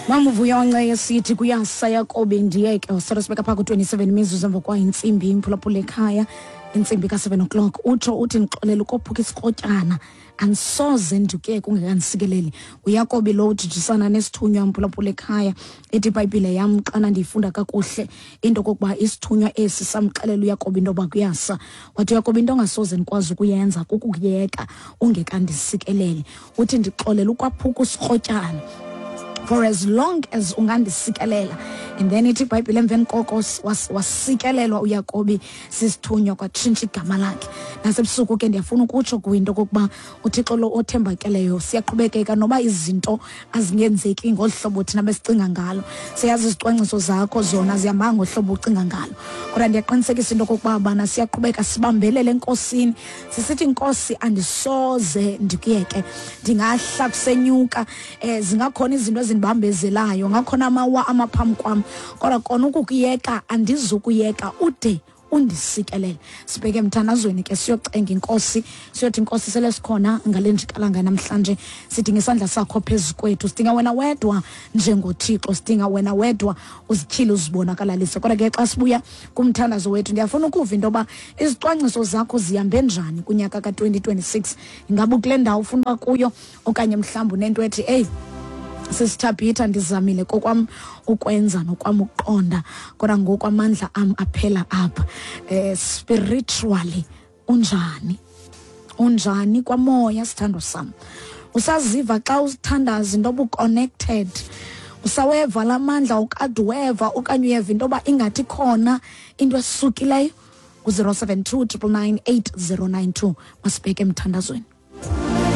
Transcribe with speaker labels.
Speaker 1: Mamuvuyo esithi kuyasa Yakobi ndiyeke usolo sibeka phaa ku-27 imizuzu emva kwayo intsimbi imphulaphula ekhaya intsimbi ka-7 o'clock. Utsho uthi ndixolela ukophuka isikrotyana, andisoze ndikuyeke ungekandisikeleli. Uyakobi lo ujijisana nesithunywa mphulaphula ekhaya. Ithi ibhayibhile yam xana ndiyifunda kakuhle into kokuba isithunywa esi samxelela uyakobi into yoba kuyasa. Wathi uyakobi into ongasoze ndikwazi ukuyenza kukukuyeka ungekandisikeleli. Uthi ndixolela ukwaphuka usikrotyana for as long as ungandisikelela. And then ithi ibhayibhile emveni koko wasikelelwa uyakobi sisithunywa, kwatshintsha igama lakhe. Nasebusuku ke ndiyafuna ukutsho kuwe into okokuba uThixo lo othembakeleyo, siyaqhubekeka noba izinto azingenzeki ngolu hlobo thina besicinga ngalo. Siyazi izicwangciso zakho zona zihamba ngohlobo ucinga ngalo, kodwa ndiyaqinisekisa into okokuba bana siyaqhubeka sibambelele enkosini, sisithi nkosi andisoze ndikuyeke, ndingahla kusenyuka, zingakhona izinto ezindibambezelayo, ngakhona amawa amaphambi kwam, kodwa kona ukukuyeka andizukuyeka ude undisikelele. Sibheke emthandazweni ke, siyocenga inkosi, siyothi inkosi sele sikhona ngale njikalanga namhlanje, sidinga isandla sakho phezu kwethu, sidinga wena wedwa njengoThixo, sidinga wena wedwa uzityhile uzibonakalalise. Kodwa ke xa sibuya kumthandazo wethu, ndiyafuna ukuva into yoba izicwangciso zakho zihambe njani kunyaka ka-2026. Ingaba ukule ndawo ufuna uba kuyo, okanye mhlawumbi unento ethi eyi sisithabhitha ndizamile kokwam ukwenza nokwam ukuqonda, kodwa ngoku amandla am aphela apha. Spiritually unjani? Unjani kwamoya sithando sam? Usaziva xa usithandaza into yoba uconnected? Usaweva la mandla ukade uweva, okanye uyeva into yoba ingathi khona into esukileyo? Ku-072 999 8092. Masibheke emthandazweni.